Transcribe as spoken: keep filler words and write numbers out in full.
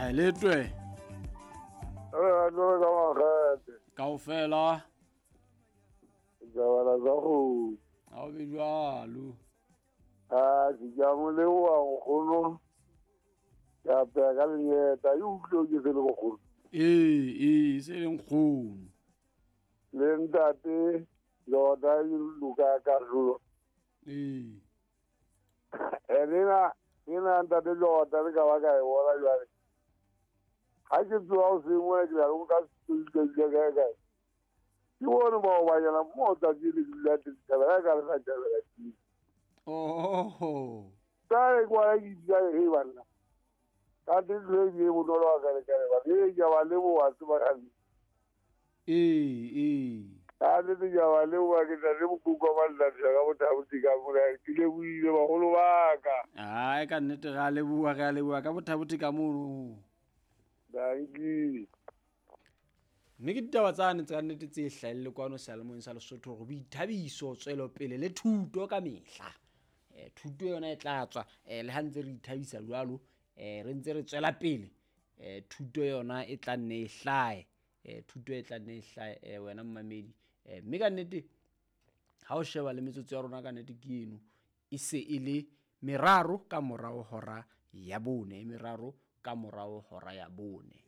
A letwe. Re no ka magate. Kaofela. Jabala za go. A o be jwalo. A ke ja mo le wa nkgono. Ka pega ka lenyeta e utlwe ke se le bogolo. Ee, ee, se le nkgono. Le ntate Jordan Luka Karlo. Ee. Ena ena ntate Jordan ka ba ka e bona jwale. Ha ke tsoa o sengwe ke la nka se ka ka. Ke bone bao ba yena mo tsatsi le dula teng ka ba ka re sa tjabela ke. Oh. Ka re kwa ke ja e bana. Ka teng le e bonolo wa ka re ka re ba e ja ba le bo wa tseba ka. Ee, ee. Ka le ja ba le wa ke tla le bokuka ba nna ka bothabuti ka mona ke le buile bagolo ba ka. Ai ka nnete ga le bua ga le bua ka bothabuti ka mono. Danki. Mme ke ditaba tsane tsa nnete tse hlahelle kwano seyalemoyeng sa Lesotho hore boithabiso, tswelopele le thuto ka mehla. Eh thuto yona e tla tswa eh le ha ntse re ithabisa jwalo eh re ntse re tswela pele eh thuto yona e tla nne e hlahe eh thuto e tla nne e hlahe eh wena mmamedi eh mme ka nnete ha o sheba le metsotso ya rona ka nnete ke eno e se e le meraro ka morao hora ya bone, meraro ka morao hora ya bone.